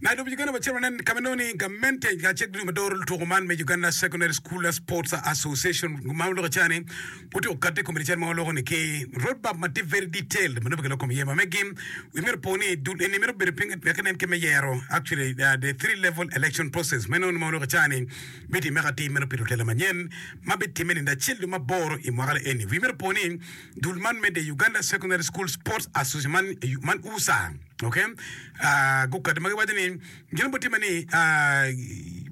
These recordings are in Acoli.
Nairobi Uganda wacito wanen ka ma inongo ni gamente kacel ki dul ma doro lutuku man me Uganda Secondary School Sports Association ma waloko cani gutyeko kati i kom cal ma waloko ni ki road map ma tye very detailed ma nongo kiloko kom iye ma megi wi myero opo ni dul eni mito bedo piny wek inen kit me yero actually the 3 level election process ma inongo ni ma waloko cani bitimme atir meno pi lutela manyen ma bitimme nino acel dwe maboro i mwaka eni wi myero opo ni dul man me the Uganda Secondary School Sports Association man, man USA ok uh, gukati ma giwaco ni gin bitimme ni uh,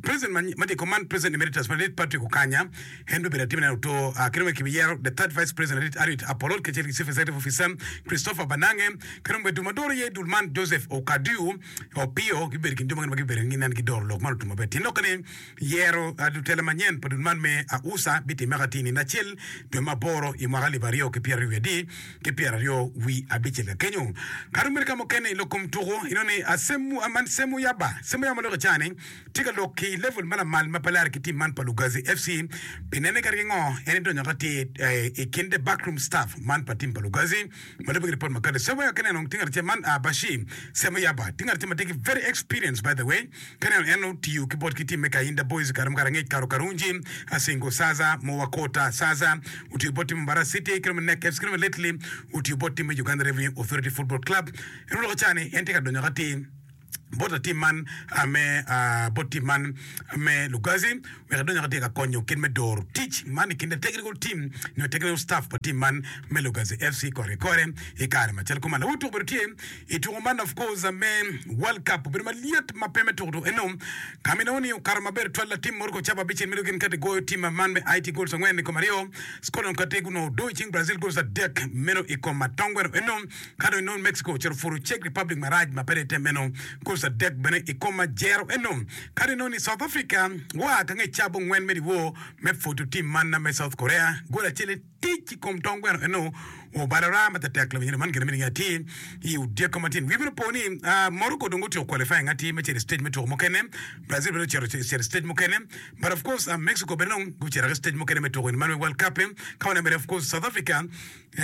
president ma ma tye i kom man president emeritus madit Patrick Okanya en bibedo atima ne oto uh, kendo bene kibiyero the third vice president madit Harriet Apolot kacel ki chief executive officer Christopher Banange kendo bene dul ma doro iye dul man Joseph Okadiu Opio gibedo i kin jo mukene ma gibedo ginen gidoro lok man otum maber tyen lokke ni Yero lutela manyen pa dul man me AUSA bitimme ka tye nino acel dwe me aboro i mwaka alip aryo ki pyeraryo wiye adi ki pyeraryo wi abicel ka kenyo. Ka dong bedo ka mukene i lok kom tuku inongo ni Asemu man Semu Yaba Semu Yaba ma lok i caa ni tye ka lok ki level ma lamal ma pe lare ki team man pa Lugazi FC pi nene kadi ki ngo en edonyo ka tye i kin the backroom staff man pa team pa Lugazi ma lubbe ki report ma kati Semu Yaba ka ineno tye ngat acel man Bashir Semu Yaba tye ngat acel ma tye ki very experience by the way Ka ineno en otiyo ki bot ki tim me Kayinda Boys i kare mukato angec Karo Karungi, Asingo Saza, Mowakota Saza, otiyo bot tim me Mbarara City ki dong me Nek FC ki dong me lately otiyo bot tim me Uganda Revenue Authority Football Club. En oloko ca ni en tye ka donyo atir bot latim man me bot tim man me Lugazi wek edony atir ka konyo kit me doro tic man i kin the technical team nyo technical staff pa tim man me Lugazi FC kore ki kore i kare macalo kuman. Lawot tuko obedo tye I tuko man of course me World Cup obedo malyet ma pe me tuko tuko eno ka ma inongo ni okato maber twal latim Morocco cawa abicel mito gin kati goyo tim man me Haiti goals angwen i kom aryo Scotland kati gunongo odo i cing Brazil goals adek meno i kom atongweno eno ka dong inongo Mexico ocito puro Czech Republic marac ma pe dong item meno goals adek bene i kom ajero eno ka dong inongo ni South Africa gua ka nge cawa abongwen me dyewor me pwodo tim man me South Korea gol acel Tic i kom tong gweno eno obalo raa ma tetek lawiny man gin me atir i odyeko matin. Wi bino po ni Morocco dong otyeko qualifying atir me cito i stage me tuko mukene, Brazil bene ocito i stage mukene, but of course Mexico bene dong gucito ki stage mukene me tuko man me World Cup. Ka waneno bene of course South Africa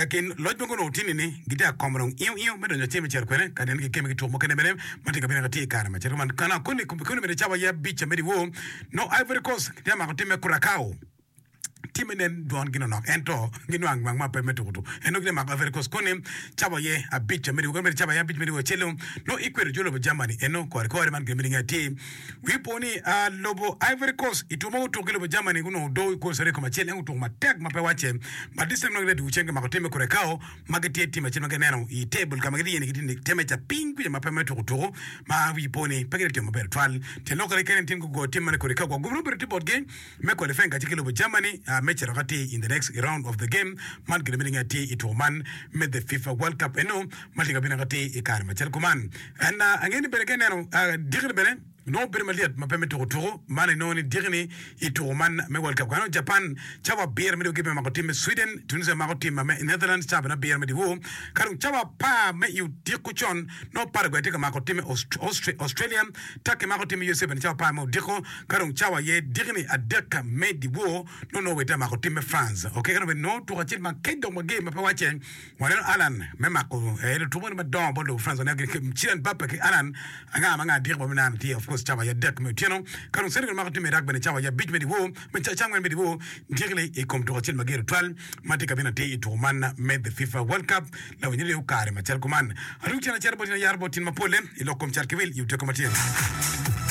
kin loc ma gunongo tini ni gitye ka komo dong iyo iyo me donyo atir me cito kwene ka neno gikemme ki tuko mukene bene ma tye ka bino atir i kare macalo man. Kana koni bene cawa aye abic me dyewor nongo Ivory Coast tye ka mako tim me Curacao. Timme nen dwon gi nonok ento ginwang nwang ma pe me tuku tuku. En nongo gitye mako Ivory Coast koni cawa aye abic me dyewor kadi cawa aye abic me dyewor acel nongo ikwero jo lobo Germany eno kore kore man gin me linge atir. Wi po ni lobo Ivory Coast i tuku ma gutuku ki lobo Germany gunongo odo i goals aryo i kom acel en gutuku matek ma pe wacce but this time nongo gitye dwogo cen gimako timme Curacao ma gitye tim acel ma gineno i table ka ma gitye iye ni gitye temperature piny kwica ma pe me tuku tuku ma wi po ni pe gitye timo maber tutwal. Tyen lok kene tye ni gugoyo tim man i Curacao gwok gubino bedo tye botgi. Me qualifying kacel ki lobo Germany me cito ka tye in the next round of the game man kede me linge atir i tuko man me the FIFA World Cup eno ma tye ka bino ka tye i kare macalo kuman. And angeyo ni bene ka ineno diki ni bene nongo bedo malyet ma pe me tuko tuko man inongo ni diki ni i tuko man me World Cup kano Japan cawa abiro me dyewor gibino mako tim me Sweden, Tunisia mako tim me Netherlands cawa bene abiro me dyewor ka dong cawa apar me i odiko con nongo Paraguay tye ka mako tim me Australia Turkey mako tim me USA bene cawa apar me odiko Ka dong cawa aye dikini adek me dyewor, nongo Norway tye ka mako tim me France. Ok, ka dong bene nongo tuko acel ma kec dok mager ma pe wacce, waneno Haaland me mako eh, lutuku moni madongo bot lobo France. Waneno gin Kylian Mbappe ki Haaland anga ma anga diki ma bineno tye of course cawa aye adek me otyeno. Ka dong Senegal mako tim me Iraq bene cawa aye abic me dyewor, me cawa angwen me dyewor dikini i kom tuko acel mager tutwal ma tye ka bino atir i tuko man me the FIFA World Cup. Lawiny ryeyo kare macalo kuman. Adwogi cen acito bot in ayaro bot tyen mapole i lok kom cat ki wil i odiko matyen.